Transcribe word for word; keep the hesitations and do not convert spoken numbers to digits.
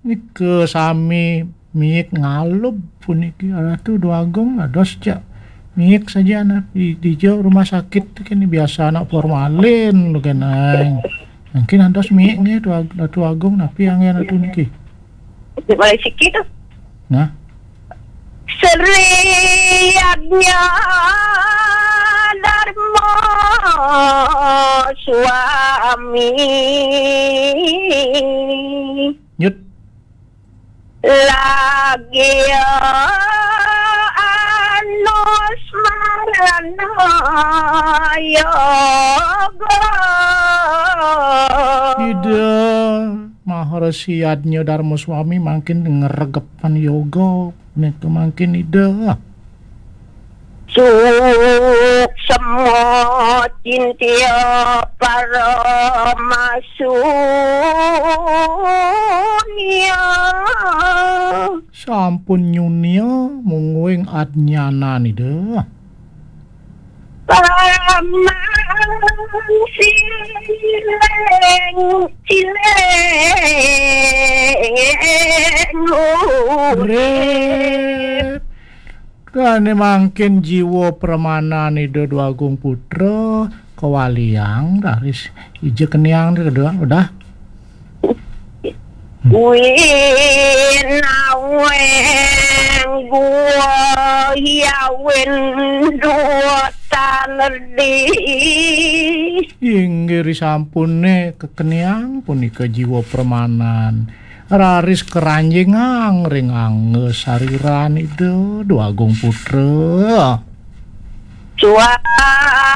Nika sami miik ngalub puniki. Ratu Dwagung, ados jak miik saja, nah, di, di jo rumah sakit kini biasa anak formalin lu kenang. Mungkin ados miik nih, Dwa-, Ratu Agung, napi anggen Ratu niki? Mulai sikit tu. Nah. Sri Yadnya Dharma Swami. Nyut. Lagi anus marana yoga. Ida Maharsi Yadnya Dharma Swami mangkin ngregepan yoga. Nika mangkin Ida. Suksma cintia paramasunya. Sampun nyunia mungguing adnyanan Ida. Paramang sileng, sileng. Rip. Kane mangkin jiwa pramanan Ida Dwagung Putra kawaliang raris ija keniang kedua udah. Winaweng gua hiawin dua tanerdi. Inggih risampune kekeniang punika jiwa pramanan. Raris keranjingang ring angga sariran Ida Dwagung Putra. Suara